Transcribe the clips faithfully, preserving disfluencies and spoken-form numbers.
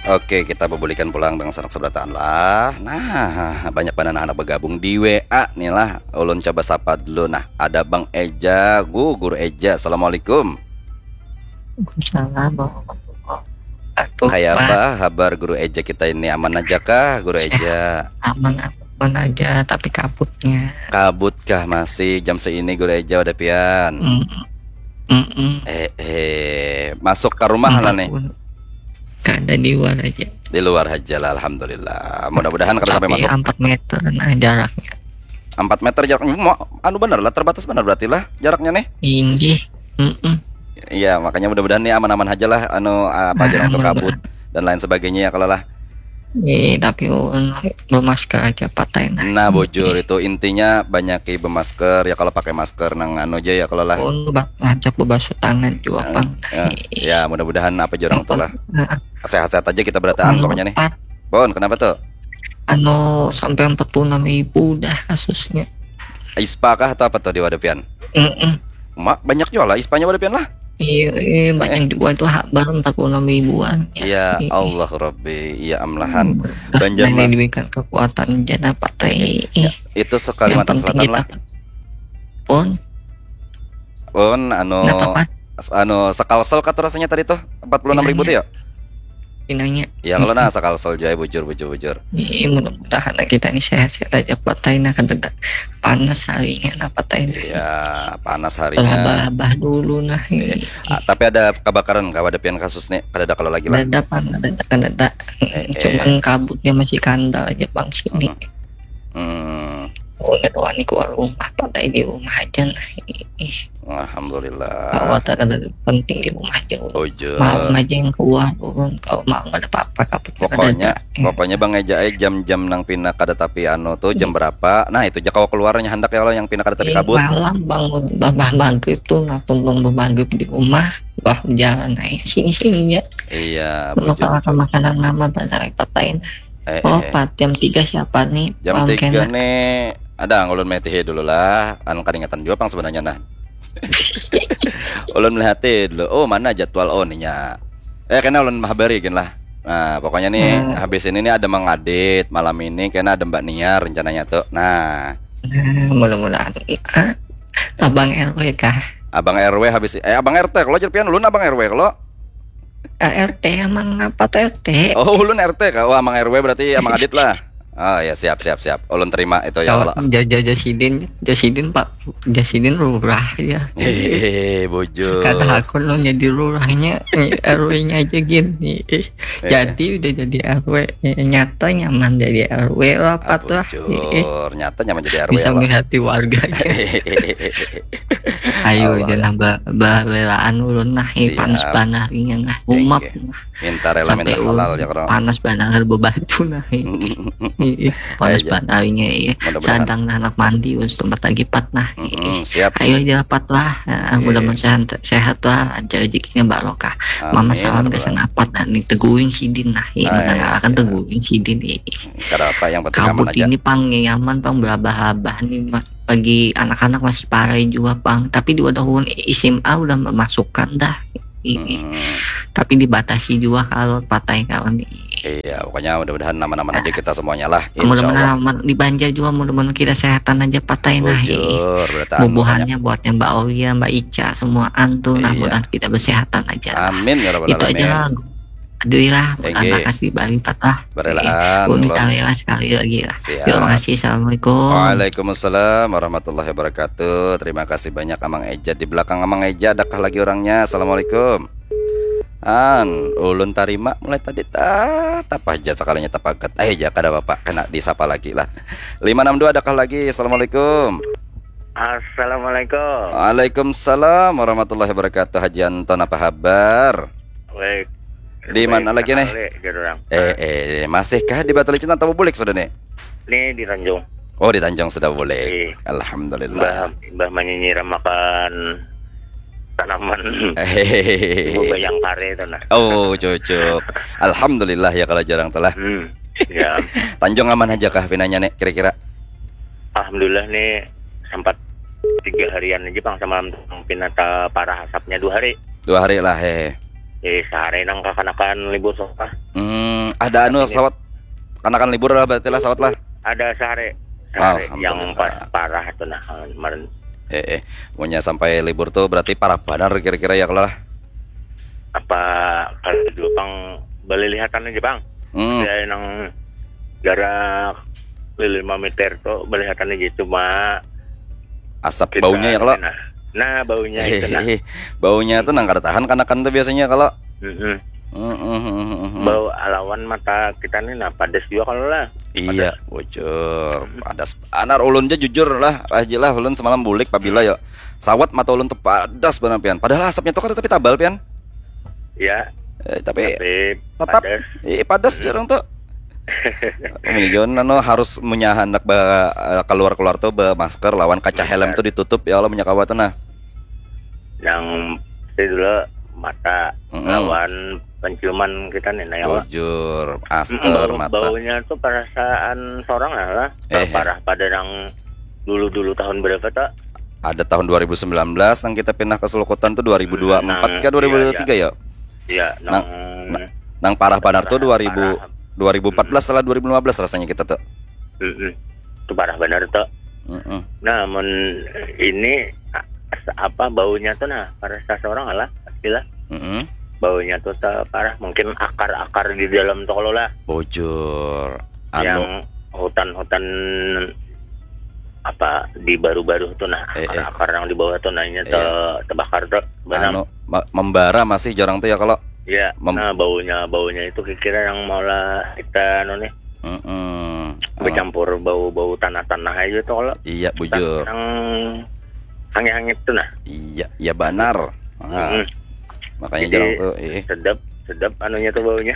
Oke, kita bebulikan pulang dengan sanak seberataan lah. Nah, banyak banana anak bergabung di W A nih lah. Ulun coba sapa dulu. Nah, ada Bang Eja, Gu, Guru Eja. Assalamualaikum. Waalaikumsalam warahmatullahi wabarakatuh. Kayak Pak. Apa kabar Guru Eja kita ini? Aman aja kah, Guru Eja? Aman, aman aja, tapi kabutnya. Kabut kah masih jam seini, Guru Eja, udah pian? Mm. Mm-mm. Eh, eh, masuk ke rumah lah nih. Kada di luar aja. Di luar aja lah, alhamdulillah. Mudah-mudahan kada sampai Tapi masuk. Empat meter nah jaraknya. Empat meter jaraknya. Mau, anu, bener lah, terbatas bener berarti lah jaraknya nih. Inggih. Mm-mm. Iya, makanya mudah-mudahan nih aman-aman aja lah, anu, apa aja Nah, untuk mudah-mudahan. Kabut dan lain sebagainya ya kalau lah. Eh, tapi ulun bermasker aja patai nah. Nah, bujur itu intinya, banyaki bermasker ya, kalau pakai masker nang anu aja ya kalau lah. Ulun ba- ngajak bebasuh tangan juga Eh, pang. eh, ya, mudah-mudahan apa aja orang tuh lah. Nah, Sehat-sehat aja kita berataan pokoknya nih. Pak, Bon, kenapa tuh? Anu sampai empat puluh enam ribu dah kasusnya. Ispa kah atau apa tuh di Wadapian? Mm-mm. Mak, banyak juga lah ispanya Wadapian lah. Iya, iya, banyak juga tuh ha- baru empat puluh enam ribuan. Ya Iya. Allah Rabbi, ya amlahan. Nah, Banjarmas. Diberikan kekuatan jana patai. Ya, itu se-Kalimantan Yang penting Selatan kita lah. Pun, Bon, anu, kenapa, Pak? Anu, sekalsel kah tuh rasanya tadi tuh? Empat puluh enam ribu tuh ya? Pinanya. Ya kalau nah, sekalsel juga, bujur, bujur, bujur. Iya, mudah-mudahan kita ini sehat-sehat aja patai nah, kada ada panas harinya nah patai nah. Iya, panas Labah harinya. labah dulu nah. Ah, tapi ada kebakaran kah Wadapian kasus nih? Kada ada kalau lagi lah. Kada ada pang, kada ada, kada ada. Eh, eh. Cuman kabutnya masih kandal aja pang sini. Mm-mm. Hmm. Ulun wani keluar rumah, patai di rumah aja nah. Ih, Alhamdulillah. Awak tak ada penting di rumah aja. Bujur. Malam aja yang keluar ulun. Kalau malam ada apa-apa, kabut kada Pokoknya, ada. pokoknya Bang Eja, eh, jam-jam nang pina kada tapi anu tuh jam Iya. Berapa? Nah, itu aja kawa keluar nya handak ya kalau yang pina kada tapi Ih, kabut. Malam bang, babah maghrib tuh nah, tumbang babah maghrib di rumah, bah jalan aja sini-sini aja. Iya, Kalau bujur. Makan makanan mama benar patai nah. Eh, Oh, eh. Pat, jam tiga siapa nih? Jam Malam tiga kena. Nih, ada ngulun metihi dulu lah. Anu, karingatan juga pang sebenarnya nah. Ulun melihati dulu. Oh, mana jadwal, oh, ninya. Eh, kena ulun habari gin lah. Nah, pokoknya nih Hmm. Habis ini nih ada Mang Adit, malam ini kena ada Mbak Nia rencananya tuh. Nah, Nah, mudah-mudahan. Ah, Abang R W kah? Abang R W habis, eh, Abang R T kalau, jar pian, ulun Abang R W kalau. Ah, R T emang apa tuh R T? Oh, ulun R T kah? Wah, Abang R W berarti Abang Adit lah. Oh ya, siap, siap, siap. Ulun terima itu ya Kalau kalau. ja- ja- Jasidin, Jasidin Pak, Jasidin lurah ya. Hehehe, bujur. Kata aku lo jadi lurahnya, R W-nya aja gin. Ih, Eh. Jadi udah jadi R W, eh, nyata nyaman jadi R W lah, Ah, Pat lah. Ih, bujur. Nyata nyaman jadi R W bisa lah. Melihati warganya. Ayo Allah. Jangan ba- babelaan ulun nah, eh, Siap. Panas banarinya nah, Thank umap you. Nah. Minta rela minta Sampai halal ulun ya, Kro. Panas banar bebatu nah, eh. Ih, ih, panas Aja. Banarinya, iya. Mudah-mudahan. Sadang nah anak mandi, ulun setempat lagi Pat nah. Ih, Mm-mm, siap. Ayo aja Pat lah. Nah, Iya. Mudah-mudahan sehat, sehat lah, lancar rezekinya barokah. Mama Amin, salam ya gasan Rabbal. Apat nah, nih teguin sidin nah. Ih, Ay, mendengarkan siap. Teguin sidin, ih. Kada apa, yang penting aman Kabut aja. Ini pang nyaman pang, berabah-abah nih, Ma. Bagi anak-anak masih parai jua pang, tapi di wadah ulun S M A udah memasukkan dah. Ih, Mm-mm. Tapi dibatasi juga kalau patai kawan. Iya, pokoknya mudah-mudahan aman-aman aja kita semuanya lah, Mudah-mudahan insyaallah. Aman di Banjar juga, mudah-mudahan kita sehatan aja patai nah. Bujur, berarti anu, Bubuhannya buatnya Mbak Aulia, Mbak Ica, semua antu nah, Iya. Mudahan kita bersehatan aja lah. Amin ya rabbal Itu aja alamin. Lah. Alhamdulillah, Enggih. Makasih Bang Ipat lah. Berelaan, Ulun Lon. Tawewa sekali lagi lah. Siap. Terima kasih. Assalamualaikum. Waalaikumsalam warahmatullahi wabarakatuh. Terima kasih banyak Amang Eja. Di belakang Amang Eja adakah lagi orangnya? Assalamualaikum. An, ulun tarima mulai tadi ta tapa aja sekalinya tapagat. Eh, ya kada apa-apa, kena disapa lagi lah. Lima enam dua adakah lagi? Assalamualaikum. Assalamualaikum. Waalaikumsalam warahmatullahi wabarakatuh. Haji Anton, apa kabar? Baik. Di mana lagi nih? Jar orang. Eh, eh, masihkah di Batu Licin atau bulik sudah nih? Ini di Tanjung. Oh, di Tanjung sudah bulik. Iya. Alhamdulillah. Mbah, mbah menyiram makan tanaman. Hehehe. Ibu bayang kare itu nah. Oh, cocok. Alhamdulillah ya kalau jarang telah. Hmm. Ya. Tanjung aman aja kah pinanya nih kira-kira? Alhamdulillah nih sempat tiga harian aja pang sama pinata parah asapnya dua hari. Dua hari lah, hehe. Eh, sehari nang kakanakan libur sekolah. Hmm, ada anu, sawat, kanakan libur lah berarti lah, sawat lah. Ada sehari, sehari yang pas parah tuh nah kemarin. Eh, eh, munnya sampai libur tuh berarti parah banar kira-kira ya kalau lah. Apa kalau di Jepang, balilihatan aja bang. Hmm. Ada yang jarak lima meter tuh, balilihatan aja, cuma asap baunya ya kalau. Nah, nah baunya itu nah. Baunya tuh nang kada tahan kanakan tuh biasanya kalau. Mm-mm. Mm, mm, mm, mm, mm. Bau alawan mata kita nih nah, padas juga kalau lah. Iya, bujur. Padas banar ulun ja jujur lah, Pak Haji lah, ulun semalam bulik pabila ya. Sawat mata ulun tuh padas banar pian. Padahal asapnya tuh kada tapi tabal pian. Ya, Eh, tapi tapi tetap padas. Iya, padas jarang tuh. Ini John anu harus munnya handak ba, eh, keluar-keluar tuh ba masker lawan kaca helm tuh ditutup ya Allah, munnya kawa tuh nah. Yang pasti dulu mata Mm-mm. lawan penciuman kita nih nah ya. Bujur, asker Bau, mata. Baunya tuh perasaan sorang lah lah. Eh, eh. Parah pada yang dulu-dulu tahun berapa tak? Ada tahun dua ribu sembilan belas nang kita pindah ke Sulukutan tuh dua ribu dua puluh empat Nah, ke dua ribu dua puluh tiga ya. Ya, Nang- nang Nang parah banar tuh Parah, dua ribu dua ribu empat belas lah dua ribu lima belas rasanya kita tuh. Mm-mm. Itu parah benar tuh. Mm-mm. Nah, mun ini a- apa baunya tuh nah, parah seseorang lah, pastilah. Mm-mm. Baunya tuh te- parah, mungkin akar-akar di dalam tuh kalau lah. Bujur. Yang Anu, hutan-hutan apa di baru-baru tuh nah, Eh, eh. Akar-akar yang di bawah tuh nanya te, Iya. Tebakar tuh, benam. Anu, ma- membara masih jarang tuh ya kalau. Ya, Mem- nah baunya baunya itu kira-kira yang mau lah kita anu nih Mm-mm. bercampur bau-bau tanah-tanah aja tuh kalau Iya, bujur. Yang hangit-hangit tuh nah. Iya, iya banar. Nah, Mm-mm. makanya Jadi, jarang tuh. Eh. Sedap, sedap anunya tuh baunya.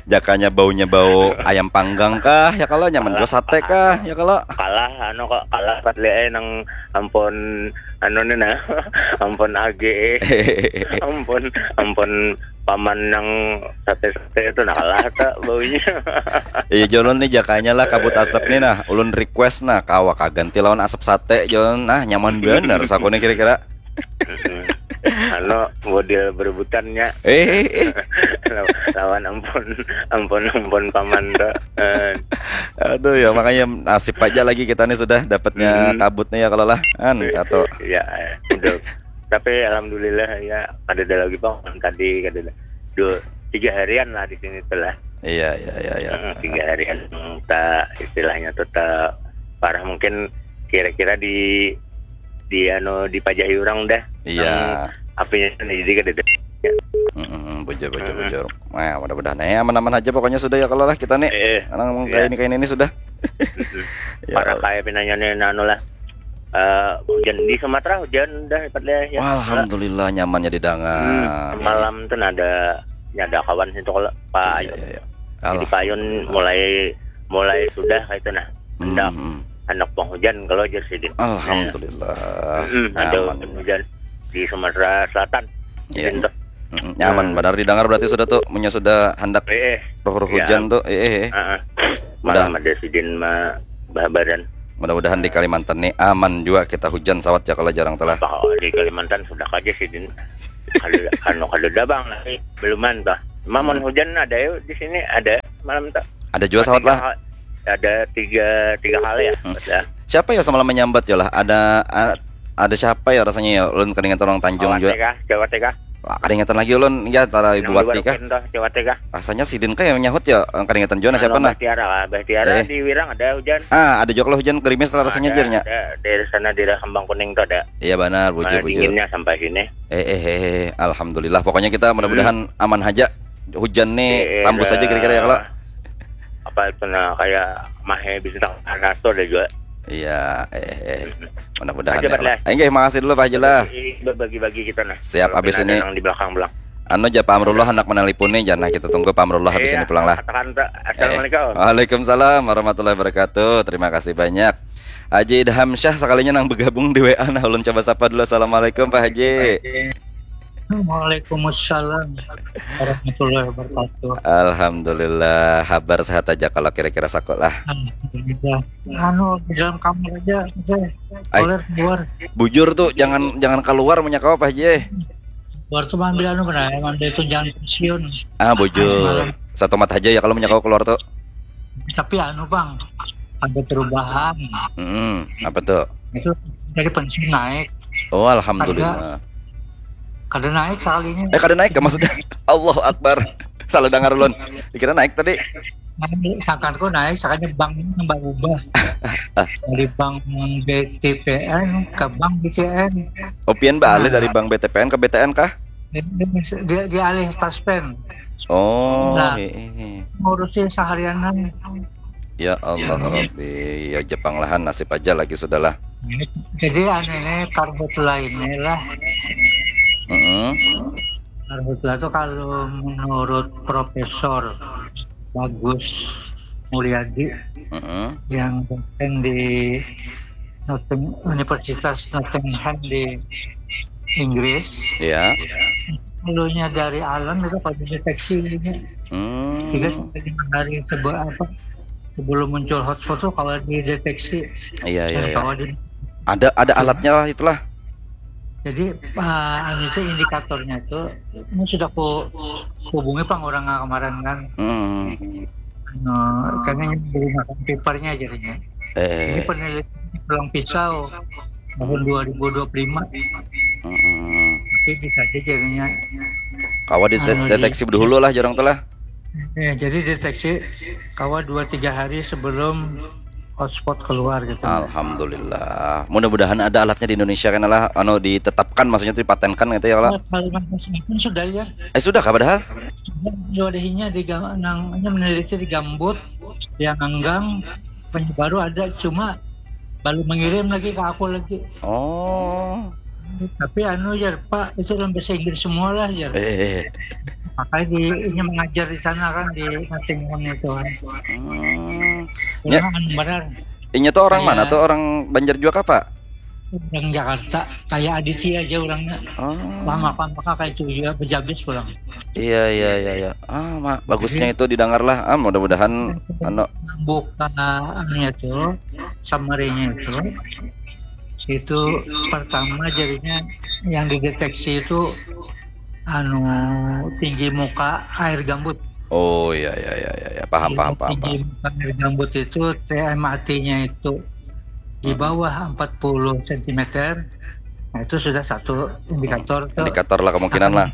Jakanya baunya bau ayam panggang kah? Ya kalau nyaman jua sate kah? Ya kalau. Kalah anu kok, kalah pat liai nang ampun anu nih nah. Ampun age. Ampun, ampun paman nang sate-sate itu nah, kalah tak baunya. Iya, jolon nih jakanya lah kabut asap nih nah. Ulun request nah, kawa kaganti lawan asap sate jolon. Nah, nyaman bener sakuni kira-kira. Anu model berebutannya. Eh, eh, eh. Law- lawan ampun, ampun ampun paman tuh. Eh, Aduh ya, makanya nasib aja lagi kita nih sudah dapatnya kabut nih ya kalau lah. An atau Ya, udah. Tapi alhamdulillah ya, ada ada lagi bang tadi, ada ada dua tiga harian lah di sini tuh lah. Iya, iya, iya, iya. Hmm, tiga harian tak istilahnya tuh tak parah, mungkin kira-kira di di anu dipajahi orang dah. Iya. Apinya tuh jadi kada ada. Mm-mm, bujur, bujur, bujur. Nah, mudah-mudahan ya aman-aman aja pokoknya sudah ya kalau lah kita nih. Eh, Karena ngomong iya. Kayak ini kayak ini sudah. Ya. Parah kayak pinanya nih anu lah. Eh, hujan di Sumatera, hujan dah dapat deh ya. Wah, alhamdulillah nyamannya didengar. Hmm, semalam tuh ada ada kawan situ kalau Pak Iya, Ayun. Iya, iya. Jadi Pak Ayun mulai mulai sudah kayak itu nah. Hendak Hmm. Hendak penghujan kalau aja sih. Alhamdulillah. Hmm, ada Nyaman. Hujan di Sumatera Selatan. Iya. Gitu. Mm, nyaman benar didengar berarti sudah tuh, punya sudah hendak Eh, eh. roh-roh Iya. Hujan tuh. Eh, eh, eh. Heeh. Udah. Malam ada sidin ma bahabaran. Mudah-mudahan di Kalimantan nih aman juga kita hujan sawat ya kalau jarang telah. Pak, oh, di Kalimantan sudah aja sidin. Ada anu kada ada bang lagi. Beluman tuh. Mamun hujan ada yuk di sini, ada malam tuh. Ada juga sawat lah. Ada tiga tiga kali ya. Hmm. Ada. Siapa ya semalam menyambat ya lah? Ada a- ada siapa ya rasanya ya? Ulun keringatan orang Tanjung Cawate juga. Kah? Cawate kah? Wah, keringatan lagi ulun ya tara Nang ibu Wati di kah? Barukin tuh, Cawate kah? Rasanya sidin kah yang nyahut ya? Keringatan juga nah siapa Anu, nah? Bah Tiara, Bah Tiara Eh. Di Wirang ada hujan. Ah, ada juga lo hujan gerimis lah rasanya Ada, jirnya. Ada, dari sana daerah Kembang Kuning tuh ada. Iya benar, bujur Nah, bujur. Dinginnya sampai sini. Eh eh eh, eh. Alhamdulillah. Pokoknya kita mudah-mudahan aman aja. Hujan nih Eh, eh, tambus aja ada- kira-kira ya kalau. Apa itu nah kayak Mahe Bintang Panas tuh ada juga. Iya, eh eh. Mudah-mudahan Aja, ya. Bat, lah. Eh, nggih, makasih dulu Pak Haji lah. Bagi-bagi kita nah. Siap, Kalau habis ada ini. Yang di belakang belang. Anu aja Pak Amrullah hendak menelponi jan nah kita tunggu Pak Amrullah habis Iya, ini pulang lah. Katakan tuh. Eh, Assalamualaikum. Waalaikumsalam warahmatullahi wabarakatuh. Terima kasih banyak. Haji Idham Syah sekalinya nang bergabung di W A nah ulun coba sapa dulu. Assalamualaikum Pak Haji. Waalaikumsalam warahmatullahi wabarakatuh. Alhamdulillah, habar sehat aja kalau kira-kira saku lah. Alhamdulillah. Anu di dalam kamar aja, oke. Ai. Boleh keluar. Bujur tuh jangan jangan keluar punya kau Pak Haji. Keluar tuh ambil anu kena, ambil tunjangan pensiun. Ah bujur. Satomat haja ya kalau munnya kawa keluar tu. Tapi anu bang, ada perubahan. Hmm, apa tu? Itu dari pensiun naik. Oh, alhamdulillah. Kada naik sekalinya. Eh, kada naik kah maksudnya? Allahu Akbar. Salah dengar ulun. Dikira naik tadi. Naik, sangkanku naik, sakalinya bank ini nambah ubah. Dari bank B T P N ke bank B T N. Oh, pian baalih dari bank B T P N ke B T N kah? Dia, dia alih taspen. Oh, Nah. Heeh. Ngurusi seharianan. Ya Allah Rabbi, ya Jepang lahan nasib aja lagi sudahlah. Jadi anu ini karhutla ini lah. Heeh. Karhutla itu kalau menurut Profesor Bagus Mulyadi Heeh. yang dosen di Notting- Universitas Nottingham di Inggris, Ya. dulunya dari alam itu kalau dideteksi ini Hmm. tiga sampai lima hari sebelum apa sebelum muncul hotspot tuh kalau dideteksi Iya, iya, dan iya. kalau di Ada ada alatnya lah itulah. Jadi uh, anu itu indikatornya itu ini sudah ku hubungi pang orang kemarin kan. Hmm. Nah, karena ini menggunakan papernya jadinya. Ini Eh. Penelitian pulang pisau tahun dua ribu dua puluh lima. Hmm. Tapi bisa aja jadinya. Kawa dite- deteksi dahulu lah jorang tuh lah. Ya, jadi deteksi kawa dua tiga hari sebelum hotspot keluar gitu. Alhamdulillah. Mudah-mudahan ada alatnya di Indonesia kan lah, anu ditetapkan maksudnya dipatenkan gitu ya kalau. Kalimantan Selatan sudah ya. Eh sudah kah padahal? Sudah ada di gam- nang ini meneliti di gambut yang anggang penyebaru ada cuma belum mengirim lagi ke aku lagi. Oh. Tapi anu ya Pak itu dalam bahasa Inggris semua lah ya. Eh. Makanya di ini mengajar di sana kan di Nottingham itu kan. Hmm. Ya. Benar. Inya tuh orang ya. Mana tuh orang Banjar juga apa? Orang Jakarta, kayak Aditya aja orangnya. Oh. Lama kan maka kayak itu juga berjabis pulang. Iya iya iya iya. Ah, mak bagusnya itu didengar lah. Ah, mudah-mudahan anu buka anunya tuh summary-nya itu itu pertama jadinya yang dideteksi itu anu tinggi muka air gambut. Oh iya iya iya iya ya. Paham paham paham. Tinggi muka air gambut itu T M A T-nya itu di bawah empat puluh sentimeter. Nah, itu sudah satu indikator. Hmm. Indikator lah kemungkinan lah.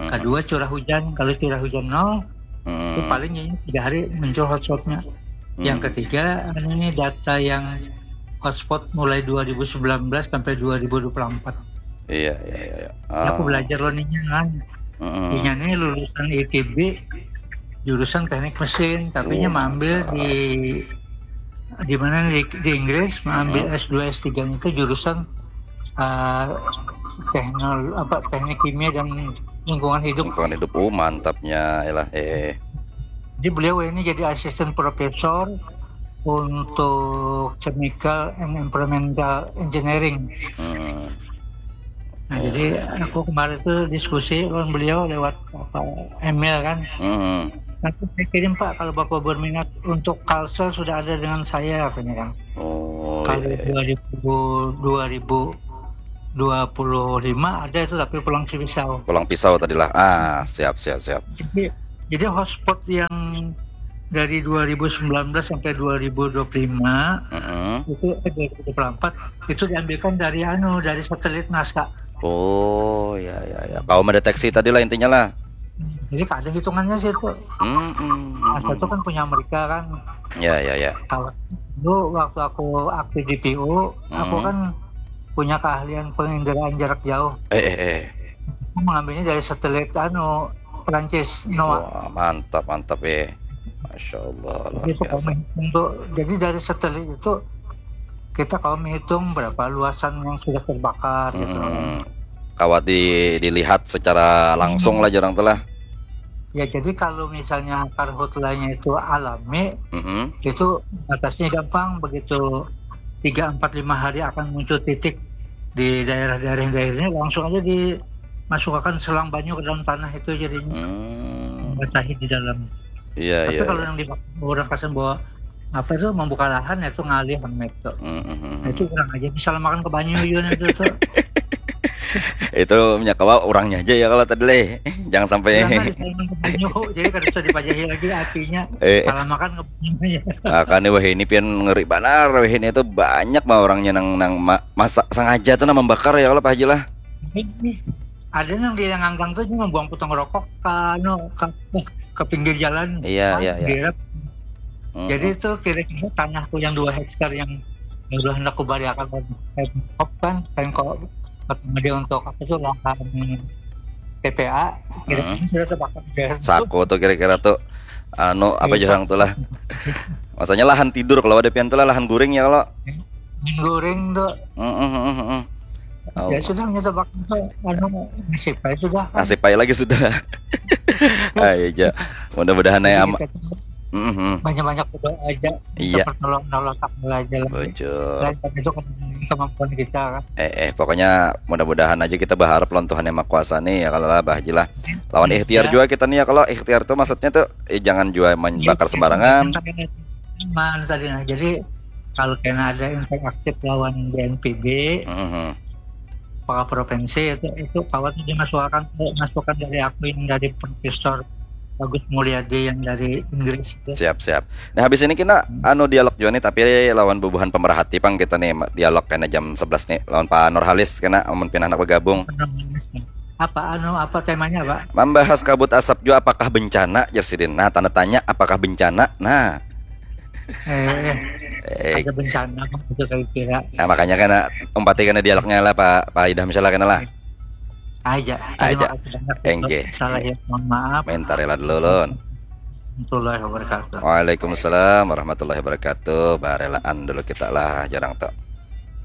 Kedua curah hujan, kalau curah hujan nol, hmm. Itu paling ini tiga hari muncul hotspotnya. Hmm. Yang ketiga, ini data yang hotspot mulai dua ribu sembilan belas sampai dua ribu dua puluh empat. Iya iya iya. iya. Ah. Aku belajar loh nih kan. Hmm. Ini lulusan I T B jurusan teknik mesin, tapi oh, mengambil di di mana di, di Inggris mengambil hmm. S dua S tiga itu jurusan uh, teknol apa teknik kimia dan lingkungan hidup. Lingkungan hidup. Oh, mantapnya lah. Eh. Jadi beliau ini jadi asisten profesor untuk chemical and environmental engineering. Hmm. Nah, jadi aku kemarin tuh diskusi lawan beliau lewat apa email kan. Hmm. Nanti saya kirim Pak kalau Bapak berminat untuk Kalsel sudah ada dengan saya katanya kan. Oh, kalau iya, iya. dua ribu dua ribu dua puluh lima ada itu tapi pulang pisau. Pulang pisau tadilah. Ah, siap siap siap. Jadi, jadi hotspot yang dari dua ribu sembilan belas sampai dua ribu dua puluh lima mm -hmm. Itu eh, dua ribu dua puluh empat itu diambilkan dari anu dari satelit NASA. Oh ya ya ya. Kau mendeteksi tadi lah intinya lah. Jadi ada hitungannya sih itu. Mm -hmm. NASA itu kan punya Amerika kan. Ya ya ya. Kalau dulu waktu aku aktif di P U, mm -hmm. Aku kan punya keahlian penginderaan jarak jauh. Eh eh eh. Aku mengambilnya dari satelit anu Prancis NOAA. Wah, mantap mantap ya. Masya Allah. Jadi, itu untuk, jadi dari satelit itu kita kalau menghitung berapa luasan yang sudah terbakar hmm. Gitu. Kawat di, dilihat secara langsung lah jarang telah. Ya jadi kalau misalnya karhutlanya itu alami, mm -hmm. Itu batasnya gampang begitu tiga empat lima hari akan muncul titik di daerah-daerah daerahnya langsung aja dimasukkan selang banyu ke dalam tanah itu jadinya hmm. Membasahi di dalam. Iya, Tapi iya. Kalau yang di orang kasan bawa apa itu membuka lahan itu ngalih itu. Mm -hmm. Nah, itu kurang aja bisa makan ke banyu juga itu tuh. Itu minyak kawa orangnya aja ya kalau tadi leh. Jangan sampai. Jangan disalahkan ke banyu, jadi kada usah dipajahi lagi apinya. Eh, eh. Salah makan ngebunuhnya. Nah, kan wah ini pian ngeri banar, wah ini itu banyak mah orangnya nang nang ma, masak sengaja tuh nang membakar ya kalau Pak Haji lah. Ada nang dia ngangkang tuh cuma buang potong rokok ke anu ke, ke pinggir jalan. Iya, iya, iya. Hmm. Jadi itu kira-kira tanahku yang dua hektar yang udah hendak kubaliakan kan kain kok pertama dia untuk apa tuh lahan T P A kira-kira hmm. Sudah sepakat beres saku tuh kira-kira tuh anu apa iya. Jorang tuh lah masanya lahan tidur kalau ada pian tuh lah lahan guring ya kalau guring tuh mm -mm, mm -mm. Oh. Ya sudah nyoba itu anu nasib aja sudah. Nasib aja lagi sudah. Ayo aja. Mudah-mudahan ya am. Mm-hmm. Banyak-banyak berdoa aja. Iya. Pertolongan Allah Taala aja lah. Bujur. Dan itu kemampuan kita kan. Eh, eh pokoknya mudah-mudahan aja kita berharap lawan Tuhan yang Maha Kuasa nih ya kalau lah Bah Haji lah. Lawan ikhtiar ya. Juga kita nih ya kalau ikhtiar tuh maksudnya tuh eh, jangan juga main ya, bakar sembarangan. Mana tadi nah. Jadi kalau kena ada interaktif lawan B N P B mm-hmm. Kepala provinsi itu itu kawan dimasukkan masukan dari aku yang dari Profesor Bagus Mulyadi yang dari Inggris itu. Siap siap. Nah habis ini kita hmm. Anu dialog juga nih tapi lawan bubuhan pemerhati pang kita nih dialog kena jam sebelas nih lawan Pak Nurhalis kena amun pina anak bergabung. Apa anu apa temanya Pak? Membahas kabut asap juga apakah bencana jar sidin. Nah tanda tanya apakah bencana. Nah. Eh, eh. Ada bencana itu kira-kira. Nah makanya kena umpati kena dialognya lah Pak Pak Idam misalnya kena lah. Aja. Aja. Enggih. Salah ya, mohon maaf. Minta rela dulu lon. Warahmatullahi wabarakatuh. Waalaikumsalam warahmatullahi wabarakatuh. Barelaan dulu kita lah jarang tuh.